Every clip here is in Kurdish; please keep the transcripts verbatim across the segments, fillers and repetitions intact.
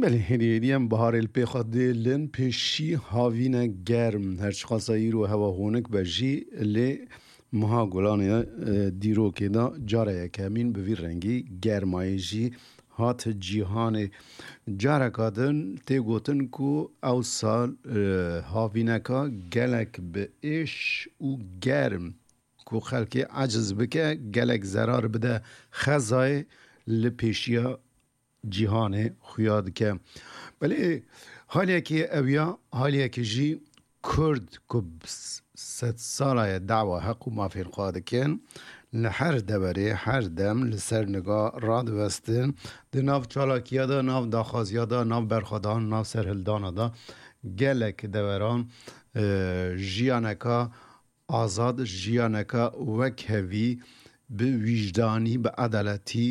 Belê, hêdî hêdî em biharê li pê xwe dêlin, pêşî havîne germ. Her çiqasa îro hewa honik be jî, lê meha Gulanê, e, dîrokê de cara yekemîn bi vî rengî germayê jî hat cîhanê. Careka din tê gotin ku ew sal, e, havîneka gelek bi êş û germ ku xelkê eciz bike, gelek zerar bide xezayê, li pêşiya cîhanê xuya dike. Belê haliyekî ew ya, haliyekî jî Kurd ku s-, sedsala ye dawa heq û mafên xwe dikin, li her deverê, her dem li ser niga radiwestin, di nav çalakiya de, nav daxwaziya de, nav berxwedan, nav serhildana de gelek deveran, e, jiyaneka azad, jiyaneka wekhevî, bi wîjdanî, bi edaletî,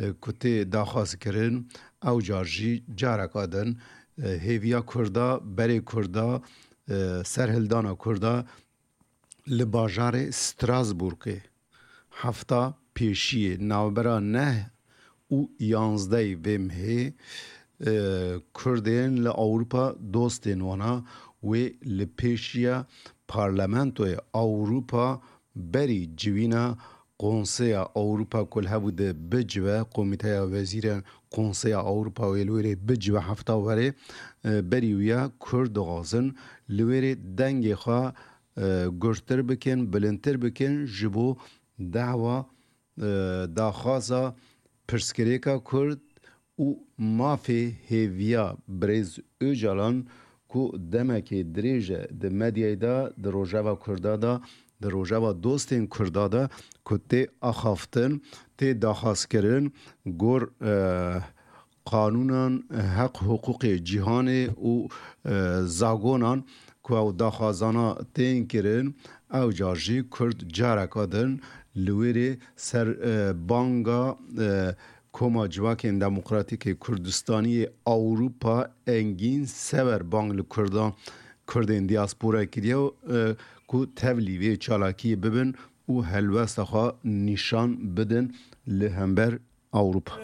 e, ku tê daxwaz kirin, ew car jî careka din, e, hêviya Kurda, berê Kurda, e, serhildana Kurda li bajarê Strasbourgê hefta pêşiyê navbera neh û yanzdehê vê mehê, e, Kurdên li Ewropa dostên wana wê li pêşiya Parlamentoya Ewropa berî civîna Konseya Ewropa ku li hebû di bicive, Komîteya Wezîrên Konseya Ewropa wê li wêrê bicive hefta werê, e, berî wîya Kurd dixwazin li wêrê dengê xwe, e, gurttir bikin, bilindtir bikin ji bo dawa, e, daxwaza pirsgirêka Kurd û mafê hêviya birêz Ocalan ku demekê dirêj e di medyayê de, di rojeva Kurda de, di rojeva dostên Kurda de ku tê axaftin, tê daxwazkirin, gor, e, qanûnan, heq hiqûqê cîhanê û, e, zagonan ku ew daxwazana tên kirin, ew car jî Kurd careka din li wêrê ser, e, banga, e, Koma Civakên Demokratîk ê Kurdistanî yê Ewropa Engîn Sever bang li Kurdan, Kurdên diaspora kiriye, e, ku tevlî vê çalakiyê bibin û helwesta xwe nîşan bidin li hember Ewropa.